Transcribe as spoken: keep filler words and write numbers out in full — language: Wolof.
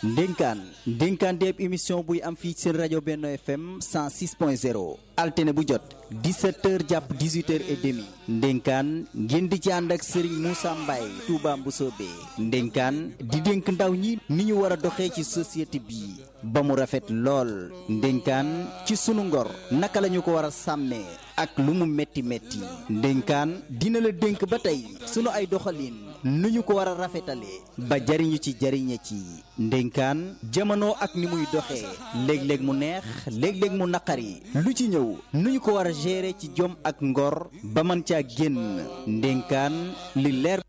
ndénkaan ndénkaan déeb émission buy am fii seen rajo Benno F M cent six point zéro altine bu jot dix-sept heures jàpp dix-huit heures et demi ndénkaan ngeen di ci ànd ak Serigne Moussa Mbaye Touba Mboussobé ndénkaan di dénk ndaw ñi ni ñu war a doxee ci société bi ba mu rafet lool ndénkaan ci sunu ngor naka la ñu ko war a sàmmee ak lu mu metti metti ndénkaan dina la dénk ba tey sunu ay doxalin nu ñu ko war a rafetalee ba jariñu ci jariñe ci ndénkaan jamono ak ni muy doxee léeg-léeg mu neex léeg-léeg mu naqari lu ci ñëw nu ñu ko war a gérer ci jom ak ngor ba mën caa génn ndénkaan li leer